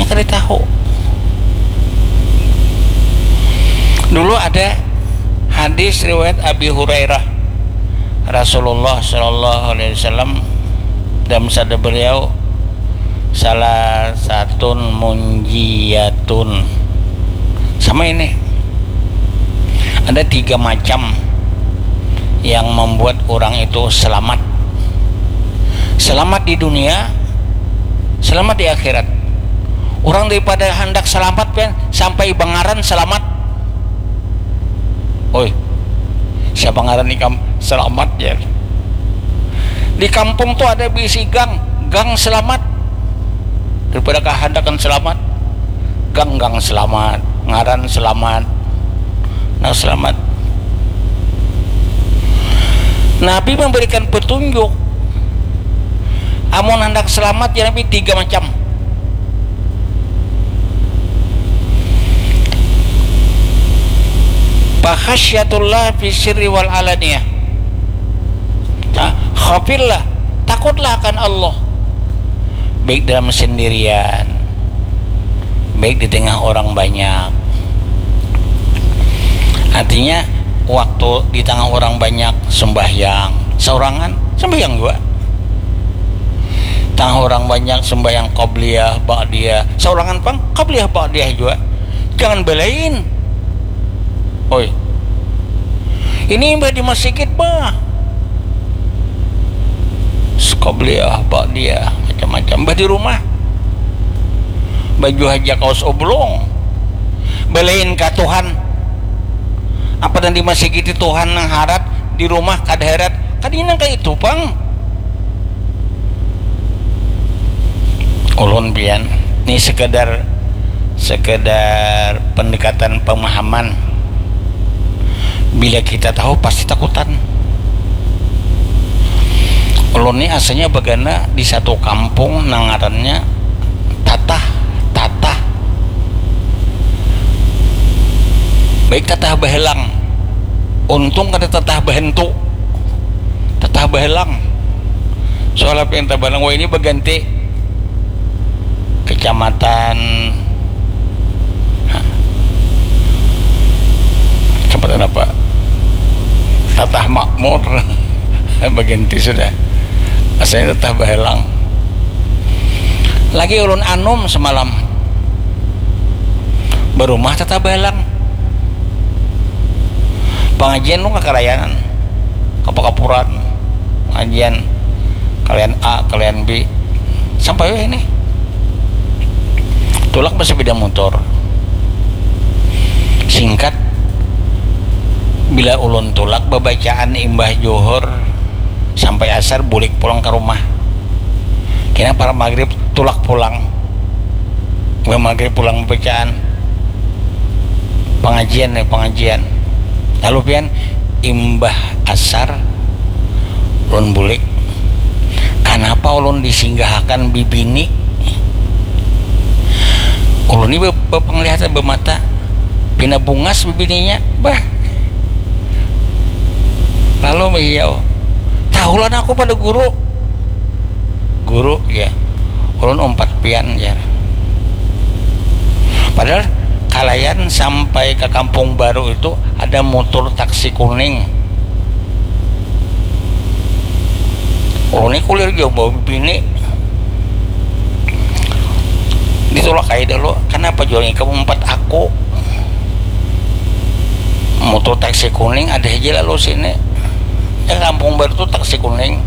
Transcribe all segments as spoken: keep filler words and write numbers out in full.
Kada tahu. Dulu ada hadis riwayat Abi Hurairah, Rasulullah Shallallahu Alaihi Wasallam, dalam sabda beliau, "Salasatun munjiyatun." Sama ini, ada tiga macam yang membuat orang itu selamat. Selamat di dunia, selamat di akhirat. Orang daripada hendak selamat, kan, sampai bangaran selamat. Oi, siapa ngaran ikam selamat, ya? Di kampung tuh ada bisi gang, gang selamat. Daripada kahandakan selamat, gang, gang selamat, ngaran selamat. Nah, selamat. Nabi memberikan petunjuk, amun hendak selamat, ya, Nabi, tiga macam. Fakhasyatullah fi sirri wal alaniyah. Nah, khafillah, takutlah akan Allah, baik dalam sendirian, baik di tengah orang banyak. Artinya, waktu di tengah orang banyak sembahyang, seorangan sembahyang juga. Tengah orang banyak sembahyang qabliyah, ba'diyah, seorangan pang qabliyah, ba'diyah juga. Jangan belain. Oi. Ini imbah di masjid, bah. Qabliyah, ba'diyah, macam-macam. Bah di rumah, baju haja kaos oblong. Belain ka Tuhan. Apa nang di masjid itu Tuhan nang harat, di rumah kada harat. Kada nang kaya itu pang. Ulun pian, ni sekedar, sekedar pendekatan pemahaman. Bila kita tahu, pasti takutan. Ulun ni asalnya bagana di satu kampung nang ngarannya Tatah, Tatah. Baik Tatah Bahelang. Untung kada Tatah Bahentu. Tatah Bahelang. Soalnya pian Tatah Bahelang, wah, ini baganti kecamatan, ha, kecamatan apa? Tatah Makmur. Baganti sudah. Asalnya Tatah Bahelang. Lagi ulun anum semalam. Barumah Tatah Bahelang. Pangajian lu kakarayanan. Kapakapuran. Pangajian kalian A, kalian B. Sampai weh ini. Tulak bersepeda motor. Singkat, bila ulun tulak babacaan imbah johor sampai asar, bulik pulang ke rumah. Kena para maghrib, tulak pulang. Imbah maghrib pulang babacaan. Pangajian ya, pangajian. Lalu pian, imbah asar, ulun bulik. Kanapa ulun disinggahakan bibini? Ulun ni be-, bepenglihatan, bemata. Pina bungas bibininya. Bah. Lalu mihiyau. Tahulah aku pada guru. Guru, ya. Ulun umpat pian, jar. Padahal kalayan sampai ke kampung baru itu ada motor taksi kuning. Ulun ni kulir jauh bawa bini. Ditulak aja dulu. Kenapa jual ikam umpat aku? Motor taksi kuning ada aja lalu sini. Ya, kampung baru tuh taksi kuning.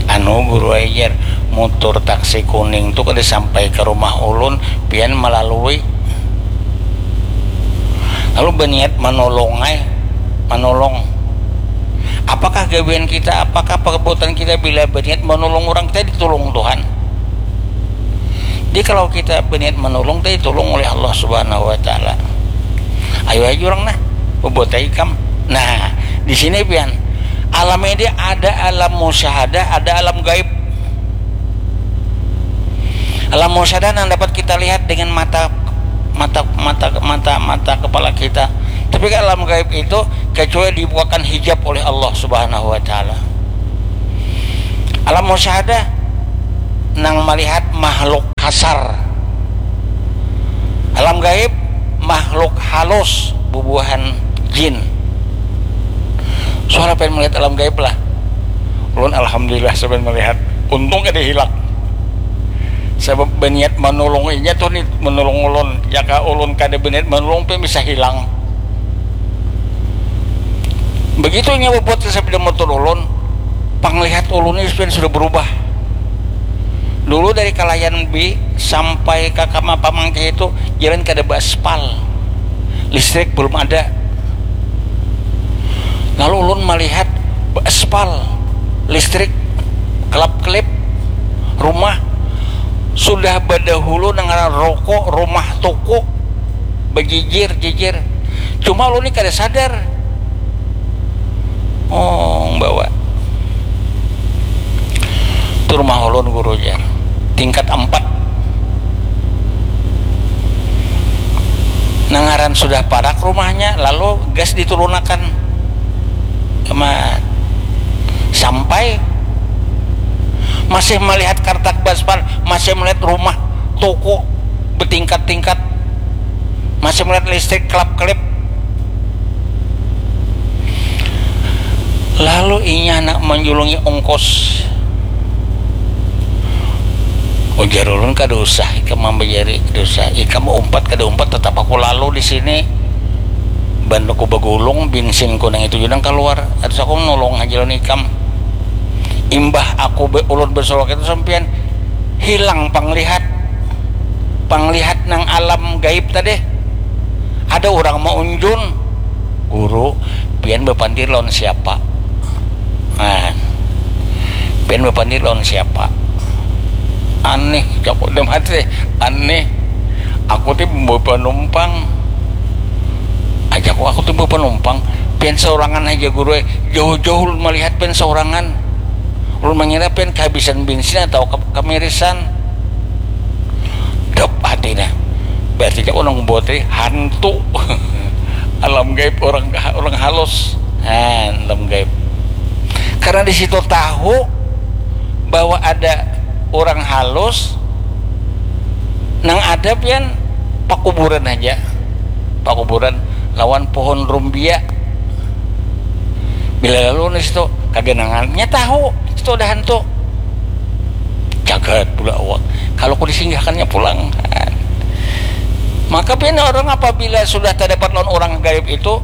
Anu, guru ajar, motor taksi kuning tuh kada sampai ke rumah ulun, pian melalui. Lalu berniat menolong, ay, menolong. Apakah gawian kita, apakah perbuatan kita bila berniat menolong orang, kita ditolong Tuhan? Jadi kalau kita berniat menolong, kita ditolong oleh Allah Subhanahu wa Ta'ala. Ayo aja orang nah, berbuat aja ikam. Nah, di sini pian, alam ini ada alam musyahadah, ada alam gaib. Alam musyahadah yang dapat kita lihat dengan mata, mata mata mata mata kepala kita. Tapi kan alam gaib itu kecuali dibukakan hijab oleh Allah Subhanahu wa Ta'ala. Alam musyahadah nang melihat makhluk kasar. Alam gaib, makhluk halus, bubuhan jin. Suara pengen melihat alam gaib lah. Ulun alhamdulillah sampai melihat. Untung kada hilang. Sebab berniat menolong inya tuh nih, menolong ulun. Jika ulun kada berniat menolong, pun bisa hilang. Begitu inya buat sepeda motor ulun, panglihat ulun ini sudah berubah. Dulu dari Kalayan B sampai ke Kama Pamangkih itu jalan kada beraspal, listrik belum ada. Lalu ulun melihat beraspal, listrik, kelap-kelip, rumah sudah badahulu dengan rokok, rumah toko, bejijir-jijir. Cuma ulun ni kada sadar. Oh, bawa tu rumah ulun guru jar. Tingkat empat. Nangaran sudah parak rumahnya, lalu gas diturunakan. Sama sampai masih melihat kartak baspal, masih melihat rumah, toko, bertingkat-tingkat, masih melihat listrik kelap-kelip. Lalu inya nak menjulungi ongkos. Ujar ulun, kada usah ikam mambajari, kada usah. Ikam umpat kada umpat, tetap aku lalu di sini. Ban aku bagulung, bensin ku nang itu judang keluar. Atas aku nolong aja lawan ikam. Imbah aku be, ulun bersolok itu sampian hilang panglihat. Panglihat nang alam gaib tadi. Ada orang maunjun, guru, pian bapandir lawan siapa? Nah, pian bapandir lawan siapa? Aneh, jaku dalam hati, aneh. Aku ti membawa penumpang. Ajaku aku ti membawa penumpang. Pian seorangan aja guru, eh. Jauh-jauh ulun melihat pian seorangan. Ulun mengira pian kehabisan bensin atau ke, kemirisan. Dop hati nah. Berarti dia orang buat tadi hantu. Alam gaib orang, orang halus. Nah, alam gaib. Karena di situ tahu bahwa ada orang halus, nang ada pian pakuburan aja. Pakuburan lawan pohon rumbia. Bila lalu di situ kaganangan, nya tahu situ ada hantu. Jagat pula awak. Kalau ku disinggahkannya pulang. Maka pian orang apabila sudah terdapat lawan orang gaib itu,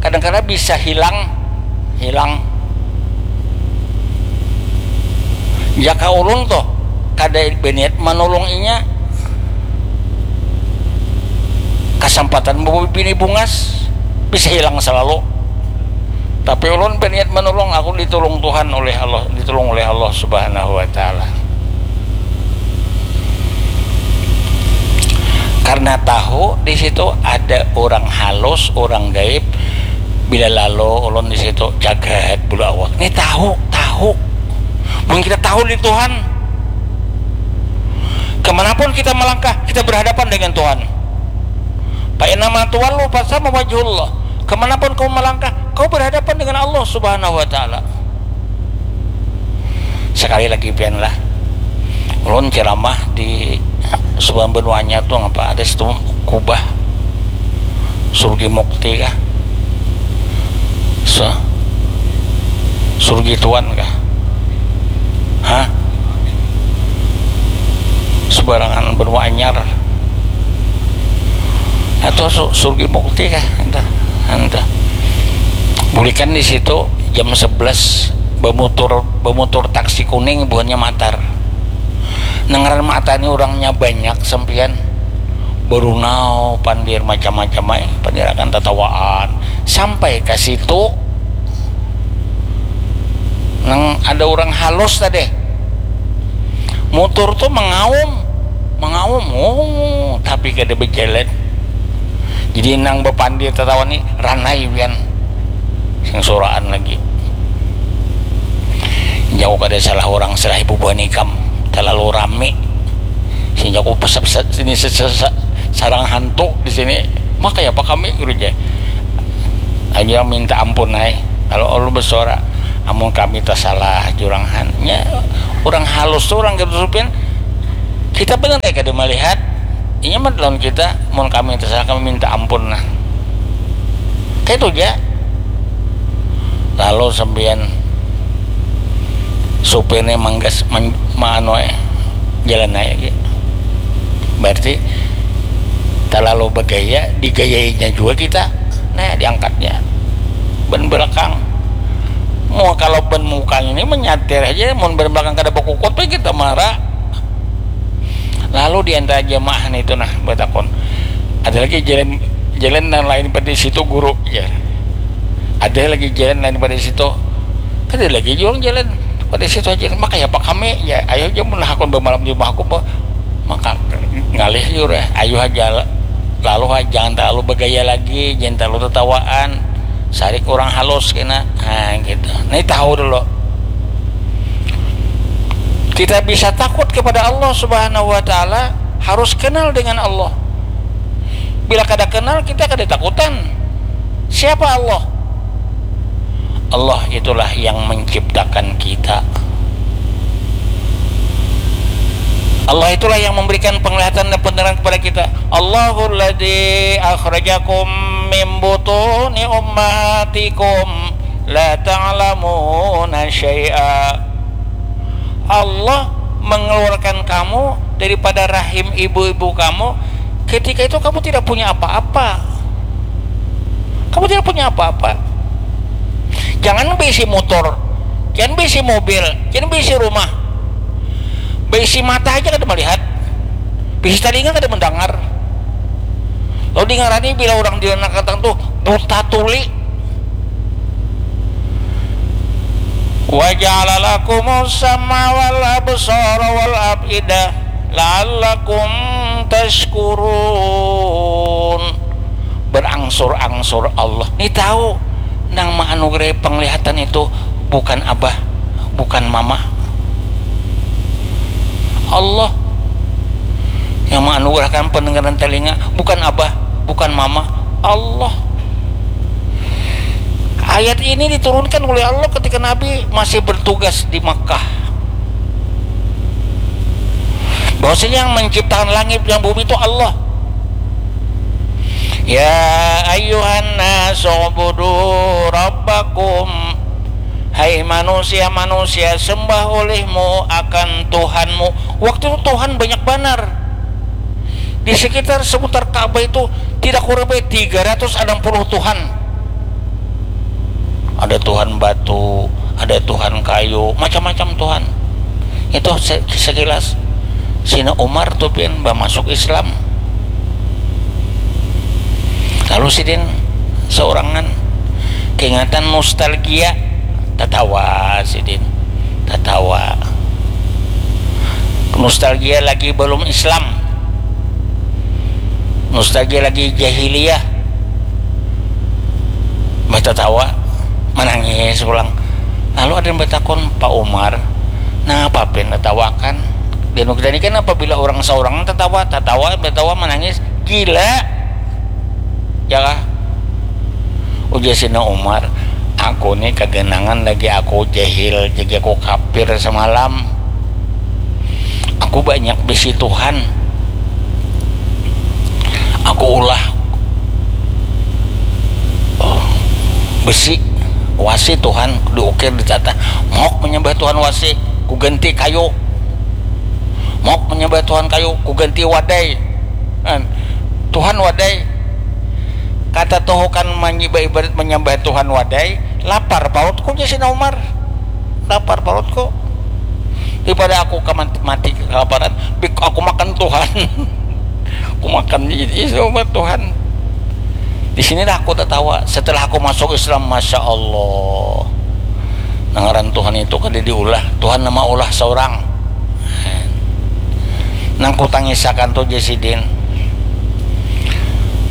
kadang-kadang bisa hilang, hilang. Jaka ulun tuh kada berniat menolong inya, kesempatan bawa bini bungas bisa hilang selalu. Tapi ulun berniat menolong, aku ditolong Tuhan oleh Allah, ditolong oleh Allah Subhanahu wa Ta'ala. Karena tahu di situ ada orang halus, orang gaib. Bila lalu ulun di situ jagat bulu awak. Ini tahu, tahu. Mungkin kita tahu di Tuhan. Kemanapun kita melangkah, kita berhadapan dengan Tuhan. Fa innama tuwallu fasamma wajhullah. Kemanapun kau melangkah, kau berhadapan dengan Allah Subhanahu wa Ta'ala. Sekali lagi pian lah, ulun ceramah di sebuah benuanya tuh apa ada situ kubah Surgi Mukti kah? Se Surgi Tuan kah? Hah? Sebarangan benua anyar. Atau su, Surgi Mukti kah? Entah, entah. Bulikan di situ jam sebelas bemutur bemutur taksi kuning buhannya matar. Nengaran matar ini orangnya banyak sampian. Berunau pandir macam-macam ay, pandir akan tatawaan sampai ke situ nang ada orang halus tadi. Mutur tuh mengaum, mengaum, oh, tapi kada berjalan. Jadi nang bapandir tatawa ni ranai pian. Sing suraan lagi. Jauh kada salah orang salah ibu buah nikam. Terlalu rame. Sing jaku pesep sini sarang hantu di sini. Maka ya apa kami guru je. Aja minta ampun ay. Kalau Allah bersuara, amun kami tersalah jurang han. Ya, orang halus tuh orang gitu supin. Kita benar ya kada melihat Inya mah lawan kita, mun kami terserah, kami minta ampun nah. Kaitu ja. Lalu sampiyan supirnya manggas, man, maanu, eh, jalan aja gitu. Berarti terlalu bergaya, digayainya juga kita. Nah, diangkatnya ban belakang. Mau kalau ban mukanya ini menyatir aja, mau ban belakang kada berkukut, kita marah. Lalu di antara jamaah itu nah bertakon, ada lagi jalan, jalan yang lain pada situ guru ya? Ada lagi jalan lain pada situ? Kada lagi juang jalan pada situ aja. Maka ya apa kami ya, ayo aja menahakon bermalam di rumah aku. Maka ngalih jur, ayo aja lalu, jangan terlalu bergaya lagi, jangan terlalu tertawaan, sarik orang halus kena, nah gitu. Nah, tahu dulu. Kita bisa takut kepada Allah Subhanahu wa Ta'ala, harus kenal dengan Allah. Bila kada kenal, kita kada takutan. Siapa Allah? Allah itulah yang menciptakan kita. Allah itulah yang memberikan penglihatan dan pendengaran kepada kita. Allahul ladzi akhrajakum min butuni ummahatikum la ta'lamuna syai'a. Allah mengeluarkan kamu daripada rahim ibu-ibu kamu. Ketika itu kamu tidak punya apa-apa. Kamu tidak punya apa-apa. Jangan bisi motor, jangan bisi mobil, jangan bisi rumah. Bisi mata aja kada melihat, bisi talinga kada mendengar. Lalu dingarani bila orang di anak katang tuh buta tuli. Wa ja'ala lakumus sam'a wal absara wal af'idah la'allakum tashkurun. Berangsur-angsur Allah. Ni tahu, nang maanugerahi penglihatan itu bukan abah, bukan mama. Allah yang menganugerahkan pendengaran telinga, bukan abah, bukan mama, Allah. Ayat ini diturunkan oleh Allah ketika Nabi masih bertugas di Makkah. Bahwasanya yang menciptakan langit dan bumi itu Allah. Ya ayyuhan nasu ubudu rabbakum. Hai manusia-manusia, sembah olehmu akan Tuhanmu. Waktu itu Tuhan banyak banar. Di sekitar seputar Ka'bah itu tidak kurang baik tiga ratus enam puluh Tuhan. Ada Tuhan batu, ada Tuhan kayu, macam-macam Tuhan. Itu se-, sekilas. Sina Umar tu pian bamasuk Islam. Lalu sidin seorangan, keingatan nostalgia, tatawa sidin, tatawa. Nostalgia lagi belum Islam, nostalgia lagi jahiliyah. Bah tatawa, manangis pulang. Lalu ada yang batakun, "Pak Umar, napa pian tatawakan?" Dan kita ni kan apabila urang saurang tatawa, tatawa, batawa, manangis, gila. Ya kah? Ujar Sina Umar, "Aku ni kaganangan lagi aku jahil, jadi aku kapir samalam. Aku banyak bisi Tuhan. Aku ulah besi, wasi Tuhan, diukir, ditata. Mauk menyembah Tuhan wasi, kuganti kayu. Mauk menyembah Tuhan kayu, kuganti wadai. Kan? Tuhan wadai." Kata tuhukan manyiba ibarat menyembah Tuhan wadai, lapar parutku, jar Sina Umar. Lapar parutku. Daripada aku kaman-, mati kelaparan, bik-, aku makan Tuhan. Aku makan i-, i-, sama Tuhan. Di sinilah aku tertawa. Setelah aku masuk Islam, masya Allah. Nang ngaran Tuhan itu kada diulah. Tuhan nama ulah seorang. Nang kutangisakan tu, jar sidin,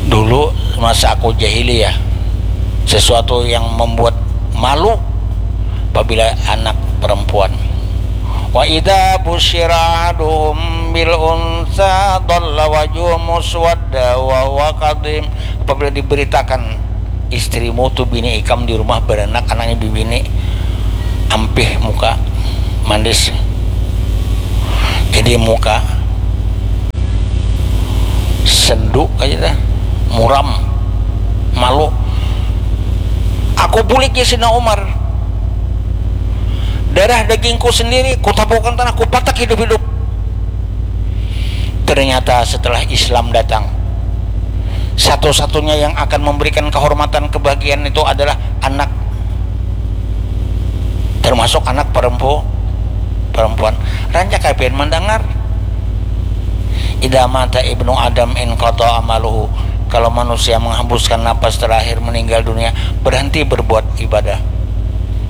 dulu masa aku jahiliyah, sesuatu yang membuat malu apabila anak perempuan. Wa idza busyira ahaduhum bil unsa dhalla wajhuhu muswadda wa huwa kadhim. Apabila diberitakan istrimu tu bini ikam di rumah beranak, anaknya bibini, ampih muka, manis. Jadi muka Sendu aja dah, muram, malu. Aku bulik ya Sina Umar. Darah dagingku sendiri kutapukan tanah, kupatak hidup-hidup. Ternyata setelah Islam datang, satu-satunya yang akan memberikan kehormatan kebahagiaan itu adalah anak, termasuk anak perempu perempuan. Rancak kapian mendengar, idza mata ibnu adam inqata amaluhu, kalau manusia menghembuskan napas terakhir meninggal dunia, berhenti berbuat ibadah,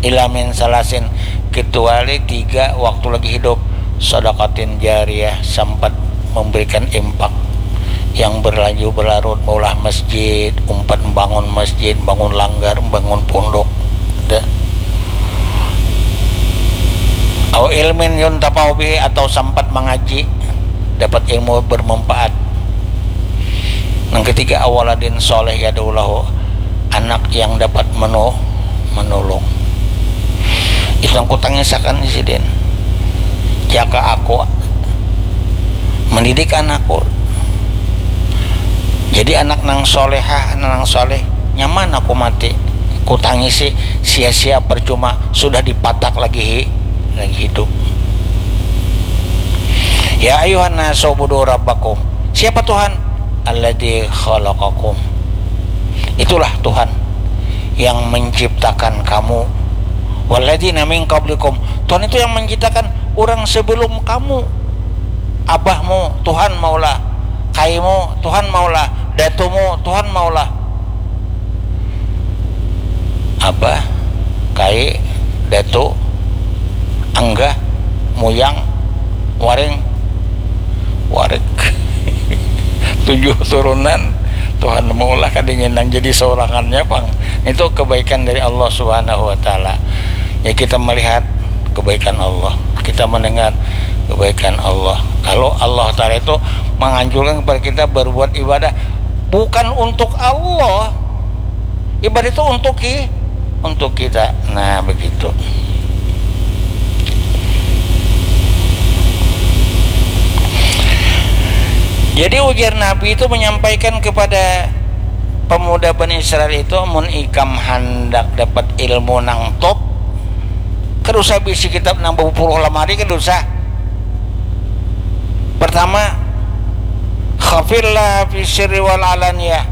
illa min salasin, kecuali tiga waktu lagi hidup, sadaqatin jariyah, sempat memberikan impak yang berlanjut berlarut, maulah masjid, umpat membangun masjid, bangun langgar, bangun pondok, dah. Au ilmin yuntafa'u bihi, atau sempat mengaji, dapat ilmu bermanfaat. Yang ketiga, awaladin soleh yad'u lahu, anak yang dapat menu menolong. Itu yang kutangisakan sidin. Jaka aku mendidik anakku jadi anak nang solehah, anak nang soleh, nyaman aku mati. Kutangisi sia-sia, percuma, sudah dipatak lagi hi, lagi hidup. Ya ayuhan nasu ubudu rabbakum. Siapa Tuhan? Alladzi khalaqakum. Itulah Tuhan yang menciptakan kamu. Walladzina min qablikum. Tuhan itu yang menciptakan orang sebelum kamu. Abahmu Tuhan maulah, kaimu Tuhan maulah, datumu Tuhan maulah. Abah, kai, datu, anggah, muyang, waring, warik. Tujuh turunan, Tuhan maulah kadinginan jadi sorangannya pang. Itu kebaikan dari Allah Subhanahu wa Ta'ala. Ya, kita melihat kebaikan Allah, kita mendengar kebaikan Allah. Kalau Allah Ta'ala itu menganjurkan kepada kita berbuat ibadah bukan untuk Allah, ibadah itu untuk ki, untuk kita. Nah, begitu. Jadi ujar Nabi itu menyampaikan kepada pemuda Bani Israel itu, mun ikam handak dapat ilmu nang top, kada usah bisi kitab nang bapuluh lamari, kada usah. Pertama, khafillah fi sirri wal alaniyah.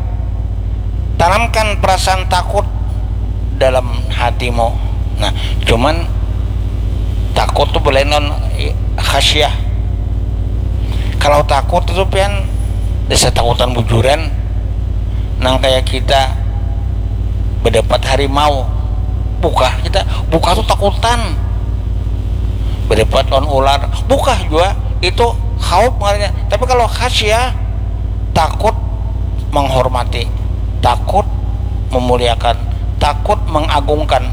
Tanamkan perasaan takut dalam hatimu. Nah, cuman takut tu belain lawan khasyah. Kalau takut itu pian dasar takutan bujuran, nang kayak kita berdebat harimau. Bukah kita, bukah tu takutan. Berdebat lawan ular, bukah jua, itu khauf ngarannya. Tapi kalau khasyah, takut menghormati, takut memuliakan, takut mengagungkan.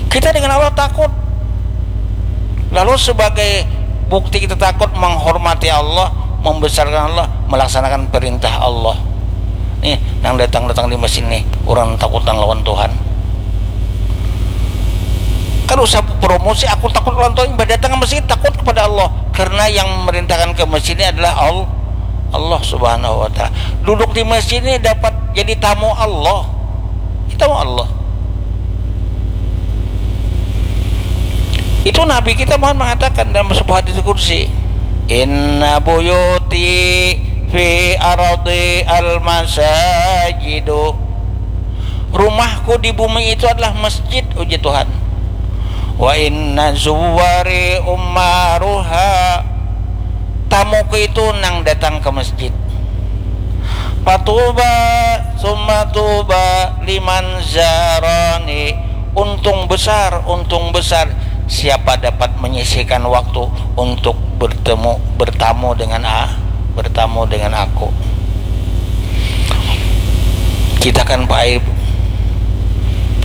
Kita dengan Allah takut. Lalu sebagai bukti kita takut, menghormati Allah, membesarkan Allah, melaksanakan perintah Allah. Nih, nang datang-datang di masjid nih, urang takutan lawan Tuhan. Kada usah promosi, aku takut lawan Tuhan, imbah datang ke masjid takut kepada Allah. Karena yang memerintahkan ke masjid ini adalah Al-, Allah Subhanahu wa Ta'ala. Duduk di masjid ini dapat jadi tamu Allah. Tamu Allah. Itu Nabi kita Muhammad mengatakan dalam sebuah hadis kursi, "Inna buyuti fi ardi al-masajidu." Rumahku di bumi itu adalah masjid, uji Tuhan. "Wa inna zuwari ummaruha." Tamuku itu nang datang ke masjid. Fatuba, summa tuba, liman zarani. Untung besar, untung besar siapa dapat menyisihkan waktu untuk bertemu, bertamu dengan a-, bertamu dengan aku. Kita kan, Pak Aib,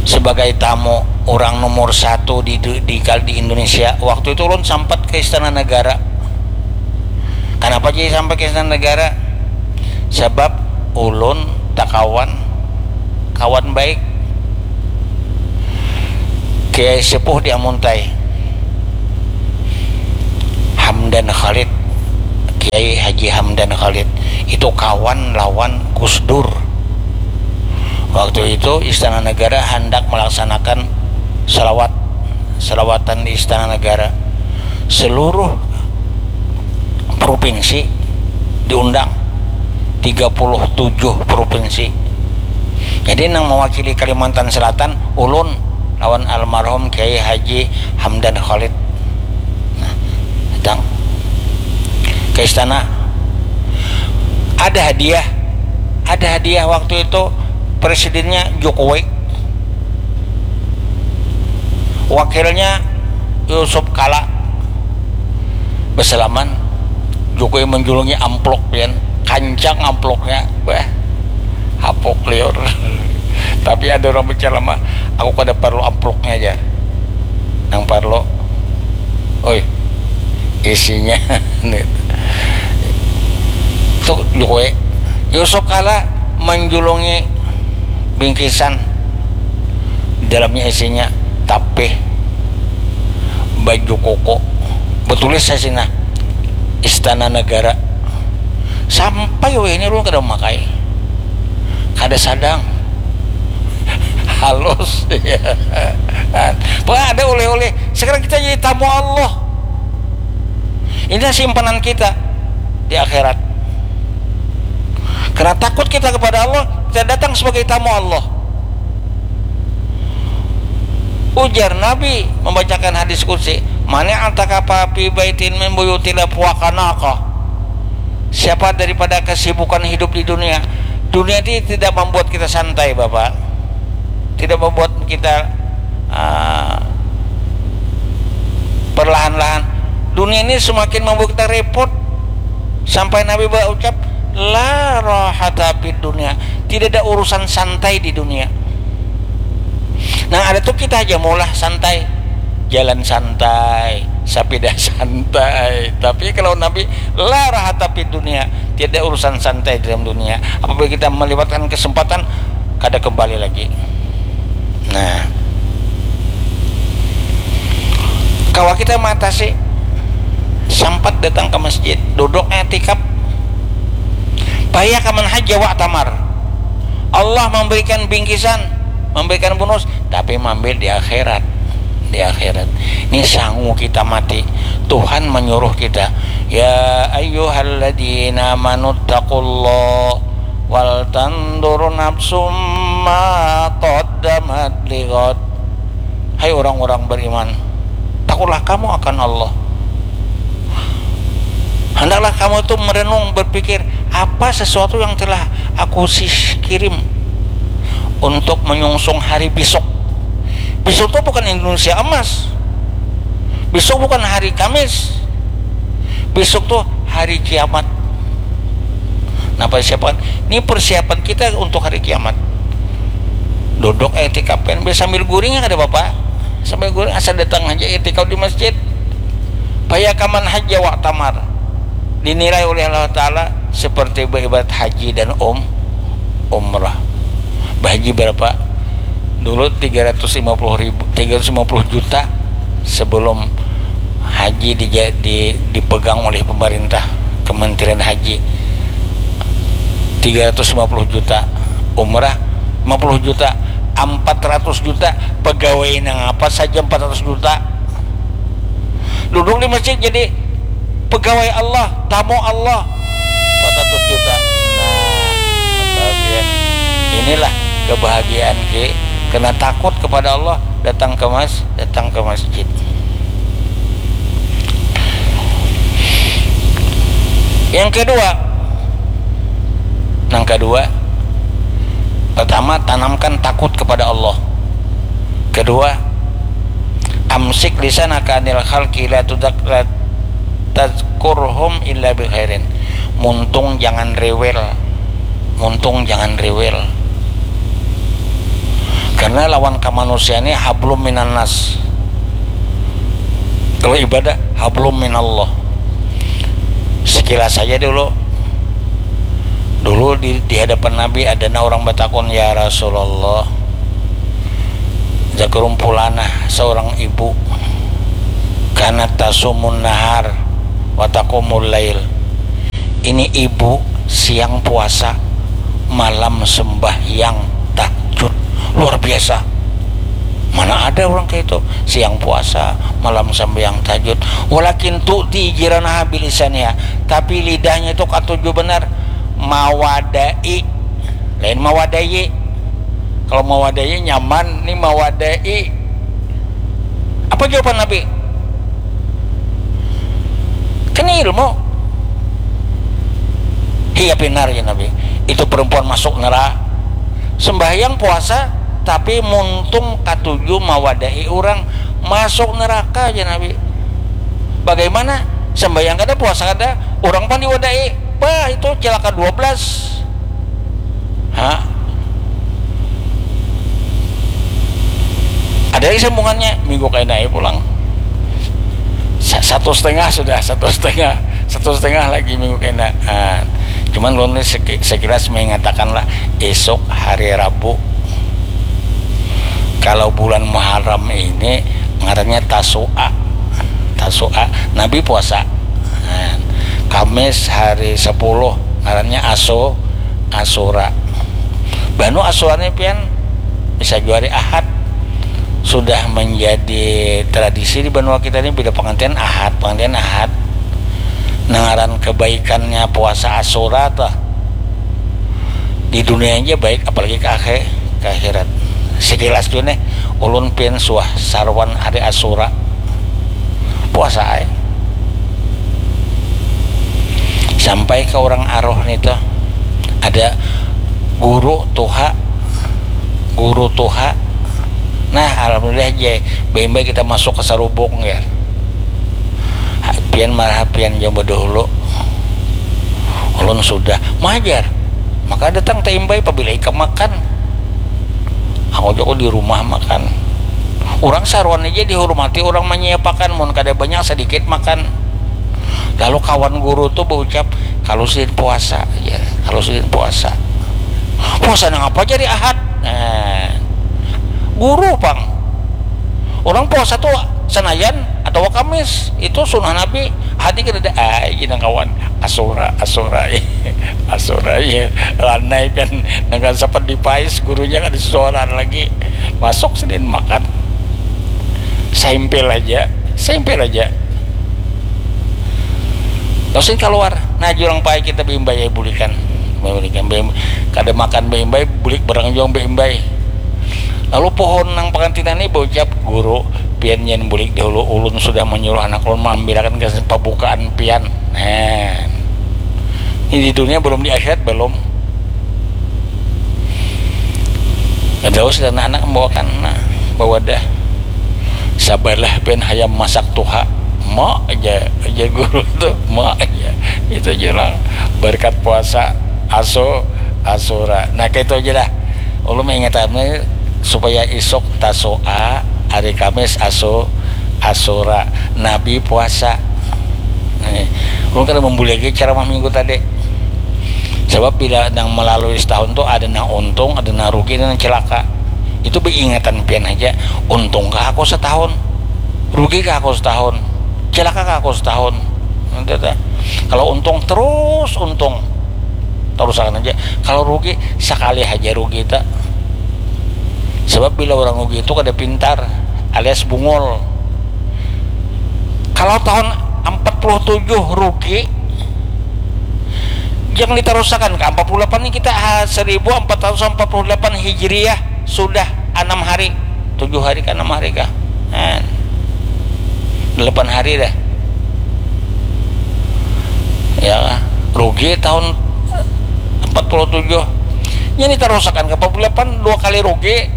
sebagai tamu orang nomor satu di, di, di Indonesia. Waktu itu ulun sampat ke Istana Negara. Kenapa jadi sampai ke Istana Negara? Sebab ulun takawan, kawan baik Kiai Sepuh di Amuntai, Hamdan Khalid, Kiai Haji Hamdan Khalid itu kawan lawan Gus Dur. Waktu itu Istana Negara hendak melaksanakan selawat, selawatan di Istana Negara. Seluruh provinsi diundang, tiga puluh tujuh provinsi. Jadi nang mewakili Kalimantan Selatan ulun lawan almarhum Kiai Haji Hamdan Khalid. Nah, datang ke istana. Ada hadiah, ada hadiah waktu itu presidennya Jokowi, wakilnya Yusuf Kala. Bersalaman, Jokowi menjulungi amplop, pian, kancang amplopnya, bah, hapuk liur. Tapi ada orang bicara mah, aku kada perlu amplopnya aja, yang perlu, oi, isinya. Tuh Jokowi, Yusuf Kala menjulungi bingkisan, di dalamnya isinya tapih, baju koko, betulis di sini Istana Negara. Sampai weh ini ulun kada memakai, kada sadang, halus ya. Pokoknya ada oleh-oleh. Sekarang kita jadi tamu Allah. Ini simpanan kita di akhirat. Karena takut kita kepada Allah, kita datang sebagai tamu Allah. Ujar Nabi membacakan hadis qudsi, "Mani atakafa fi baitin min buyutillah fuakanaka." Siapa daripada kesibukan hidup di dunia, dunia ini tidak membuat kita santai, Bapak. Tidak membuat kita uh, perlahan-lahan. Dunia ini semakin membuat kita repot. Sampai Nabi berucap, "La rahata fid dunia." Tidak ada urusan santai di dunia. Nah, ada tuh kita aja maulah santai, jalan santai, sapida santai. Tapi kalau Nabi, "La rahata fid dunia." Tiada urusan santai dalam dunia. Apabila kita melewatkan kesempatan, kada kembali lagi. Nah, kawa kita mengatasi, sampat datang ke masjid, duduk etikaf. Paya kaman haja wa tamar. Allah memberikan bingkisan, memberikan bonus, tapi mambil di akhirat. Di akhirat ini sangu kita mati. Tuhan menyuruh kita, "Ya ayyuhalladzina amanu taqullah wal tandur nafsum ma qaddamat lighad." Hai orang-orang beriman, takutlah kamu akan Allah. Hendaklah kamu itu merenung, berpikir, apa sesuatu yang telah aku kirim untuk menyungsung hari besok. Besok itu bukan Indonesia emas. Besok bukan hari Kamis. Besok tuh hari kiamat. Nah, persiapan ini, persiapan kita untuk hari kiamat. Duduk etikaf kan sambil guring ya, kada apa-apa. Sambil guring, asal datang aja etikaf di masjid. Paya kaman haja wa tamar. Dinilai oleh Allah Ta'ala seperti beribadat haji dan um, umrah. Bahaji berapa? Dulu tiga ratus lima puluh ribu, tiga ratus lima puluh juta sebelum haji di, di, dipegang oleh pemerintah, Kementerian Haji. Tiga ratus lima puluh juta, umrah lima puluh juta, empat ratus juta, pegawai nang apa saja empat ratus juta. Duduk di masjid jadi pegawai Allah, tamu Allah, empat ratus juta. Nah, inilah kebahagiaan ke, kena takut kepada Allah, datang ke mas, datang ke masjid. Yang kedua, yang kedua, pertama, tanamkan takut kepada Allah. Kedua, amsik lisanaka anil khalqi la tudak la tazkurhum illa bi khairin. Muntung jangan rewel. Muntung jangan rewel. Karena lawan kamanusiaan ini hablum minannas. Kalau ibadah, hablum minallah. Sekilas saja dulu. Dulu di, di hadapan Nabi ada orang bertakun, "Ya Rasulullah, zakarumpulanah seorang ibu, kanat tasumun nahar wa taqumul lail." Ini ibu siang puasa, malam sembahyang tahajud. Luar biasa. Mana ada orang kayak itu, siang puasa, malam sembahyang tahajud. Walakin tu'ti jiranaha bilisaniha. Tapi lidahnya itu katuju benar mawadai. Lain mawadai. Kalau mawadai nyaman, ni mawadai. Apa jawaban Nabi? Kan ilmu. Iya, pinar ya Nabi. Itu perempuan masuk neraka. Sembahyang puasa, tapi muntung katuju mawadai orang, masuk neraka ya Nabi. Bagaimana? Sembahyang kada, puasa kada, orang pang diwadai. Bah, itu cilaka dua belas. Ha? Ada lagi sambungannya, minggu kaina pulang. Sa-, satu setengah sudah, satu setengah, satu setengah lagi minggu kaina. Ah, cuman ulun ni seki-, sekilas mengatakan lah, esok hari Rabu, kalau bulan Muharram ini ngarannya Tasu'a. Tasu'a, Nabi puasa. Nah, Kamis hari sepuluh ngarannya Asu-, Asura. Banu Asura ni pian bisa jua hari Ahad. Sudah menjadi tradisi di banua kita ni, bila pengantin Ahad, pengantin Ahad. Nah, ngaran kebaikannya puasa Asura tuh di dunia aja baik, apalagi ke akhir, ke akhirat. Sekilas tuh nih, ulun pian suah saruan hari Asura. Puasa ai. Sampai ke orang aroh nih tuh, ada guru tuha, guru tuha. Nah, alhamdulillah je, bembe kita masuk ke sarubung ya. Pian marah pian jam dahulu. Ulun sudah majar. Maka datang taimbai pabila ikam makan. Aku joko di rumah makan. Orang saruan aja dihormati, orang menyiapakan, mun kada banyak sedikit makan. Lalu kawan guru tuh berucap, kalau sidin puasa, ya, kalau sidin puasa. Puasa nang apa jadi Ahad? Nah, guru pang. Orang puasa tuh Senayan atau Kamis, itu sunnah Nabi. Hati kada ada, ai, gini kawan. Asura, Asura, Asura, ya. Lanai kan, dengan seperti pais, gurunya kan disuaran lagi. Masuk sidin makan. Saimpil aja, saimpil aja. Terus keluar, nah, jurang pai kita beimbai, ya, bulikan. Bulikan, beim-, kada makan beimbai, bulik barang juang beimbai. Lalu pohon nang pengantinan ini berucap, guru, pian jan bulik dahulu, ulun sudah menyuruh anak ulun mengambilakan gasan pembukaan pian. Nah, ini di dunia belum, di akhirat belum. Terus dan anak membawakan, nah, bawadah. Sabarlah pian hayam masak tuha. Ma aja, aja guru tuh, ma aja. Itu aja lah. Berkat puasa, aso, asura. Nah, kayak itu aja dah. Ulun mengingatkan supaya isuk Tasu'a, hari Kamis aso, asura. Nabi puasa. Nih, ulun kada membuli lagi ceramah minggu tadi. Sebab bila nang melalui setahun tuh ada nang untung, ada nang rugi, ada nang celaka. Itu beingatan pian aja. Untung kah aku setahun? Rugi kah aku setahun? Celaka kah aku setahun? Itu tuh. Kalau untung terus untung. Terusakan aja. Kalau rugi sekali aja rugi tak. Sebab bila orang rugi itu kada pintar alias bungul. Kalau tahun empat puluh tujuh rugi, jangan diterusakan ke empat puluh delapan ini kita, ah, seribu empat ratus empat puluh delapan Hijriah sudah enam hari, tujuh hari kah, enam hari kah? Nah, delapan hari dah. Ya, rugi tahun empat puluh tujuh. Ini terusakan ke empat puluh delapan, dua kali rugi,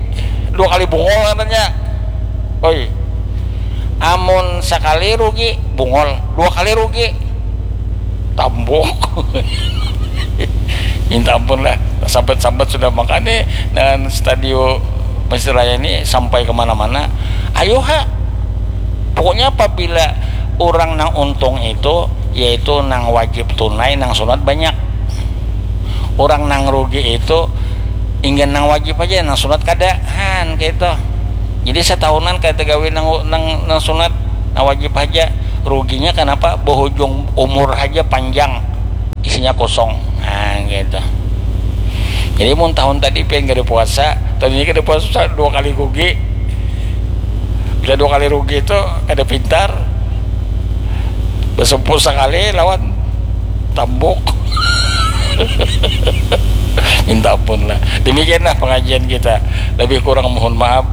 dua kali bungul katanya. Oi, amun sekali rugi, bungul, dua kali rugi, tambuk. Minta ampun lah, sambat-sambat sudah makanya dengan stadio Mesir Raya ini sampai kemana-mana. Ayo ha, pokoknya apabila orang nang untung itu, yaitu nang wajib tunai, nang sunat banyak. Orang nang rugi itu inggan nang wajib aja, nang sunat kada, han, kayak itu. Jadi setahunan kada tegawi nang, nang, nang sunat, nang wajib aja. Ruginya kenapa? Bohujung umur aja panjang. Isi nya kosong. Nah, gitu. Jadi mun tahun tadi pian kada puasa, tahun ini kada puasa, dua kali rugi. Bila dua kali rugi tu kada pintar. Basumpu sakali lawan tambuk. Minta ampun lah. Demikianlah pengajian kita. Lebih kurang mohon maaf.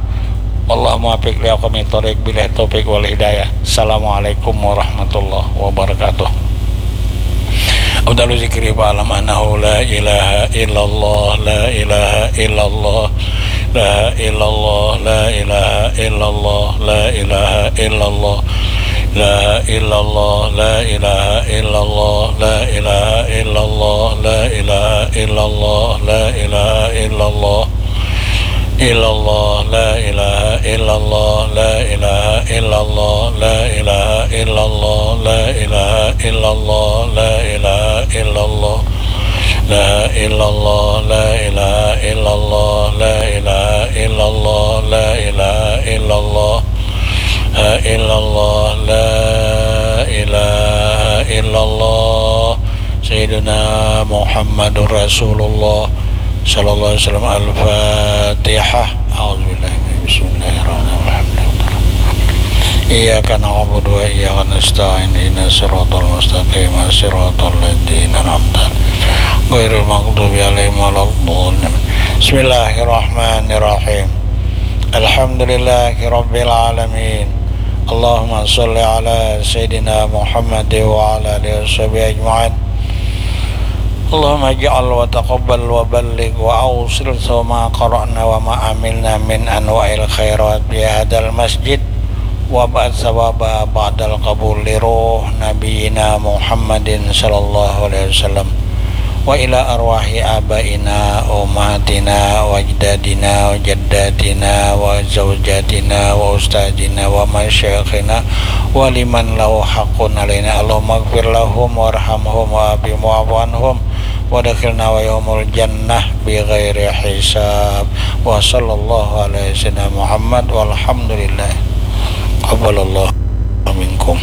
Wallahu muwaffiq li aqwamit thoriq, billahi taufiq wal hidayah. Assalamualaikum warahmatullahi wabarakatuh. Afdalu zikri fa'lam annahu la ilaha illallah, la ilaha illallah, la ilaha illallah, la ilaha illallah, la ilaha illallah, la ilaha illallah, la ilaha illallah, la ilaha illallah, la ilaha illallah, la ilaha illallah. Illallah, la ilaha illallah, la ilaha illallah, la ilaha illallah, la ilaha illallah, la ilaha illallah. La illallah, la ilaha illallah, la ilaha illallah, la ilaha illallah. La illallah, la ilaha illallah. Sayyiduna Muhammadur Rasulullah sallallahu alaihi wasallam. Al-Fatihah. A'udzubillahi min, bismillahirrahmanirrahim. Iyyaka na'budu wa iyyaka nasta'in. Ihdinas siratal mustaqim. Siratal ladzina an'amta 'alaihim ghairil maghdubi 'alaihim waladdallin. Bismillahirrahmanirrahim. Alhamdulillahi rabbil alamin. Allahumma shalli ala sayyidina Muhammad wa ala alihi wa sahbihi ajma'in. Allahumma ij'al wa taqabbal wa balligh wa awsil sawma qara'na wa ma amilna min anwa'il khairat fi hadzal masjid, wa ba'd sawaba ba'dal qabul li ruh nabiyyina Muhammadin sallallahu alaihi wasallam, wa ila arwahi abaina wa ummahatina wa ajdadina wa jaddatina wa zaujatina wa ustadzina wa masyayikhina wa liman lahu haqqun alaina. Allahumma ighfir lahum warhamhum wa afihim wa'fu anhum wa adkhilna wa yaumul jannah bi ghairi hisab. Wa sallallahu ala sayyidina Muhammad walhamdulillah. Taqabbalallahu minkum.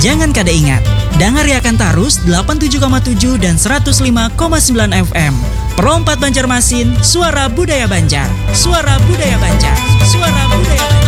Jangan kada ingat, dangariakan tarus delapan tujuh koma tujuh dan seratus lima koma sembilan F M. Pro empat Banjarmasin, suara budaya Banjar. Suara budaya Banjar. Suara budaya Banjar.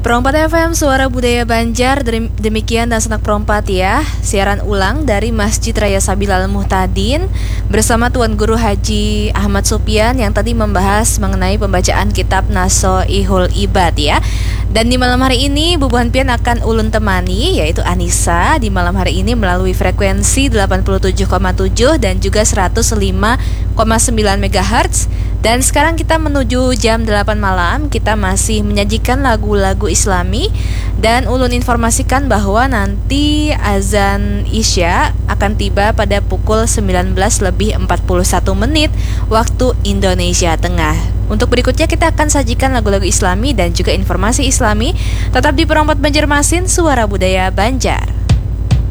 Pro empat F M, suara budaya Banjar. Demikian dan senak Pro empat ya. Siaran ulang dari Masjid Raya Sabilal Muhtadin bersama Tuan Guru Haji Ahmad Supian yang tadi membahas mengenai pembacaan kitab Nasoihul Ibad ya. Dan di malam hari ini bubuhan pian akan ulun temani, yaitu Anissa, di malam hari ini melalui frekuensi delapan puluh tujuh koma tujuh dan juga seratus lima koma sembilan megahertz. Dan sekarang kita menuju jam delapan malam, kita masih menyajikan lagu-lagu Islami. Dan ulun informasikan bahwa nanti azan Isya akan tiba pada pukul sembilan belas lebih empat puluh satu menit waktu Indonesia Tengah. Untuk berikutnya kita akan sajikan lagu-lagu Islami dan juga informasi Islami. Tetap di Pro empat Banjarmasin, suara budaya Banjar.